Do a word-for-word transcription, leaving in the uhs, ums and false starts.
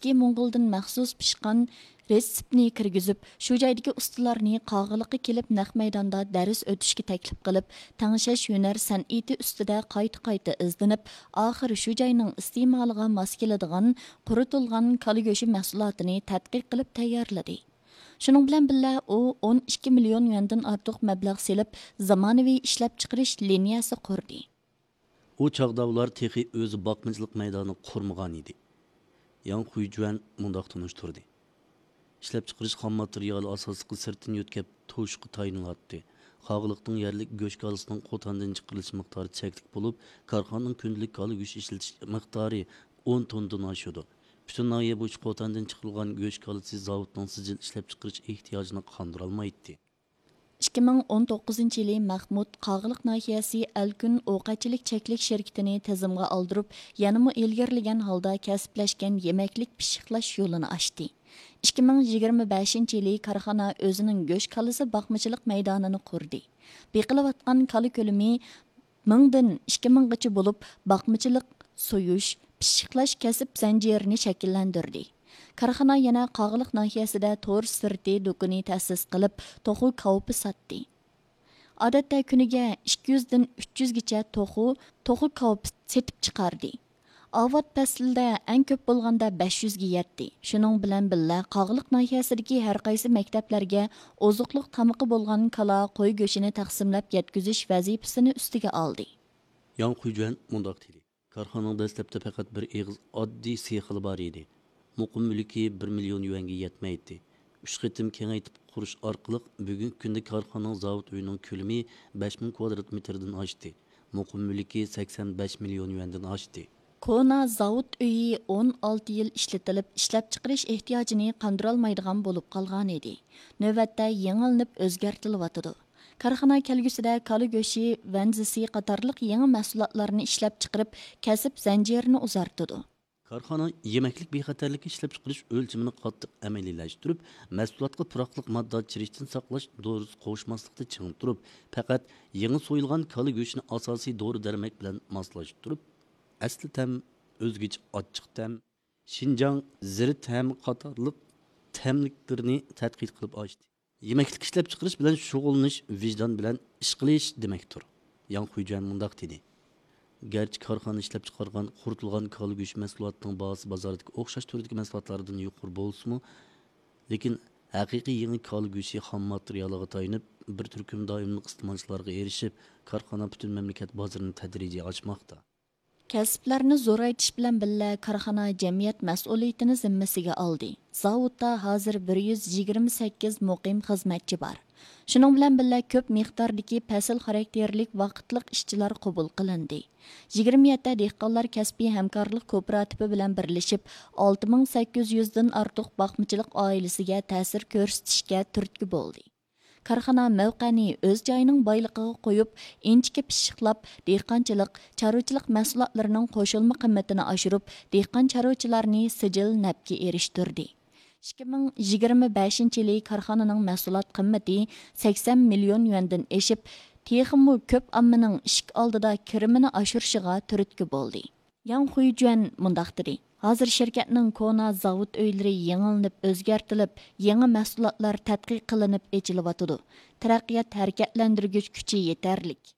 ئىككى موڭغۇلدىن مەخسۇس پىشقان رېتسېپنى كىرگۈزۈپ، شۇ جايدىكى ئۇستىلارنى قاغىلىققا كېلىپ نەق مەيداندا دەرس ئۆتۈشكە تەكلىپ قىلىپ، تەڭشەش ھۈنەر سەنئىتى ئۈستىدە قايتا-قايتا ئىزدىنىپ، ئاخىر شۇ جاينىڭ ئىستېمالىغا ماس كېلىدىغان قۇرۇتۇلغان كالا گۆشى مەھسۇلاتىنى تەتقىق قىلىپ تەييارلىدى. شۇنىڭ بىلەن بىللە، ئۇ ئون ئىككى مىليون يۈەندىن ئارتۇق مەبلەغ سېلىپ، زامانىۋى ئىشلەپچىقىرىش لىنىيەسى قۇردى. ئۇ چاغدا ئۇلار تېخى ئۆزى باقمىچىلىق مەيدانى قۇرمىغان ئىدى. ياڭ خۇيجۈەن مۇنداق تونۇشتۇردى: ئىشلەپچىقىرىش خام ماتېرىيالى ئاساسلىقى سىرتتىن يۆتكەپ توشۇشقا تايىنلاتتى. قاغىلىقنىڭ يەرلىك گۆش كالىسىنىڭ قوتاندىن چىقىرىلىش مىقدارى چەكلىك بولۇپ، كارخانىنىڭ كۈندىلىك كالا گۆشى ئىشلىتىش مىقدارى ئون توننىدىن ئاشىدۇ. پۈتۈن ناھىيە بويىچە قوتاندىن چىقىرىلغان گۆش كالىسى زاۋۇتنىڭ سىجىل ئىشلەپچىقىرىش ئېھتىياجىنى قاندۇرالمايتتى. ئىككى مىڭ ئون توققۇزىنچى يىلى مەخمۇت قاغىلىق ناھىيەسى ئەلكۈن ئوقەتچىلىك چەكلىك شىركىتىنى تىزىمغا ئالدۇرۇپ، يەنىمۇ ئىلگىرىلىگەن ھالدا كەسىپلەشكەن يېمەكلىك پىششىقلاش يولىنى ئاچتى. ئىككى مىڭ يىگىرمە بەشىنچى يىلى كارخانا ئۆزىنىڭ گۆش كالىسى باقمىچىلىق مەيدانىنى قۇردى. بېقىلىۋاتقان كالا كۆلىمى مىڭدىن ئىككى مىڭغىچە بولۇپ، باقمىچىلىق، سويۇش، پىششىقلاش كەسىپ زەنجىرىنى شەكىللەندۈردى. كارخانا يەنە قاغىلىق ناھىيەسىدە تور سىرتى دۇكىنى تەسىس قىلىپ، توخۇ كاۋىپى ساتتى. ئادەتتە كۈنىگە ئىككى يۈزدىن ئۈچ يۈزگىچە توخۇ، توخۇ كاۋىپى سېتىپ چىقاردى. ئاۋات پەسلىدە ئەڭ كۆپ بولغاندا بەش يۈزگە يەتتى. شۇنىڭ بىلەن بىللە، قاغىلىق ناھىيەسىدىكى ھەر قايسى مەكتەپلەرگە ئوزۇقلۇق تامىقى بولغان كالا، قوي گۆشىنى تەقسىملەپ يەتكۈزۈش ۋەزىپىسىنى ئۈستىگە ئالدى. ياڭ خۇيجۈەن مۇنداق دېدى: كارخانىنىڭ دەسلەپتە پەقەت بىر ئېغىز ئاددىي سېخىلا بار ئىدى. مۇقىم مۈلكى بىر مىليون يۈەنگە يەتمەيتتى. ئۈچ قېتىم كېڭەيتىپ قۇرۇش ئارقىلىق بۈگۈنكى كۈندە كارخانىنىڭ زاۋۇت ئۆيىنىڭ كۆلىمى بەش مىڭ كۋادرات مېتىردىن ئاشتى. مۇقىم مۈلكى سەكسەن بەش مىليون يۈەندىن ئاشتى. كونا زاۋۇت ئۆيى ئون ئالتە يىل ئىشلىتىلىپ، ئىشلەپچىقىرىش ئېھتىياجىنى قاندۇرالمايدىغان بولۇپ قالغانىدى. نۆۋەتتە يېڭىلىنىپ ئۆزگەرتىلىۋاتىدۇ. كارخانا كەلگۈسىدە كالا گۆشى، ۋەنزىسى قاتارلىق يېڭى مەھسۇلاتلارنى ئىشلەپچىقىرىپ، كەسىپ زەنجىرىنى ئۇزارتىدۇ. كارخانا يېمەكلىك بىخەتەرلىكى ئىشلەپچىقىرىش ئۆلچىمىنى قاتتىق ئەمەلىيلەشتۈرۈپ، مەھسۇلاتقا پۇراقلىق ماددا چىرىشتىن ساقلاش دورىسى قوشماسلىقتا چىڭ تۇرۇپ، پەقەت يېڭى سويۇلغان كالا گۆشىنى ئاساسىي دورا دەرمەك بىلەن ماسلاشتۇرۇپ، ئەسلى تەم، ئۆزگىچە ئاچچىق تەم، شىنجاڭ زىرت ھەم قاتارلىق تەملىكلىرىنى تەتقىق قىلىپ ئاچتى. يېمەكلىك ئىشلەپچىقىرىش بىلەن شۇغۇللىنىش ۋىجدان بىلەن ئىش قىلىش دېمەكتۇر. ياڭ خۇيجۈەن مۇنداق دېدى: گەرچە كارخانا ئىشلەپچىقارغان قۇرۇتۇلغان كالا گۆشى مەھسۇلاتىنىڭ باھاسى بازاردىكى ئوخشاش تۈردىكى مەھسۇلاتلاردىن يۇقىرى بولسىمۇ، لېكىن ھەقىقىي يېڭى كالا گۆشى خام ماتېرىيالىغا تايىنىپ، بىر تۈركۈم دائىملىق ئىستېمالچىلارغا ئېرىشىپ، كارخانا پۈتۈن مەملىكەت بازىرىنى تەدرىجىي ئاچماقتا. كەسىپلەرنى زورايتىش بىلەن بىللە، كارخانا جەمئىيەت مەسئۇلىيىتىنى زىممىسىگە ئالدى. زاۋۇتتا ھازىر بىر يۈز يىگىرمە سەككىز مۇقىم خىزمەتچى بار. شۇنىڭ بىلەن بىللە، كۆپ مىقداردىكى پەسىل خاراكتېرلىك ۋاقىتلىق ئىشچىلار قوبۇل قىلىندى. يىگىرمە يەتتە دېھقانلار كەسپىي ھەمكارلىق كوپىراتىپى بىلەن بىرلىشىپ، ئالتە مىڭ سەككىز يۈزدىن ئارتۇق باقمىچىلىق ئائىلىسىگە تەسىر كۆرسىتىشكە تۈرتكە بولدى. كارخانا مەۋقەنى ئۆز جايىنىڭ بايلىقىغا قويۇپ، ئىنچىكە پىششىقلاپ، دېھقانچىلىق، چارۋىچىلىق مەھسۇلاتلىرىنىڭ قوشۇلما قىممىتىنى ئاشۇرۇپ، دېھقان چارۋىچىلارنى سىجىل نەپكە ئېرىشتۈردى. ئىككى مىڭ يىگىرمە بەشىنچى يىلى كارخانىنىڭ مەھسۇلات قىممىتى سەكسەن مىليون يۈەندىن ئېشىپ، تېخىمۇ كۆپ ئاممىنىڭ ئىشىك ئالدىدا كىرىمىنى ئاشۇرۇشىغا تۈرتكە بولدى. ياڭ خۇيجۈەن مۇنداق دېدى: ھازىر شىركەتنىڭ كونا زاۋۇت ئۆيلىرى يېڭىلىنىپ ئۆزگەرتىلىپ، يېڭى مەھسۇلاتلار تەتقىق قىلىنىپ ئېچىلىۋاتىدۇ. تەرەققىيات ھەرىكەتلەندۈرگۈچ كۈچى يېتەرلىك.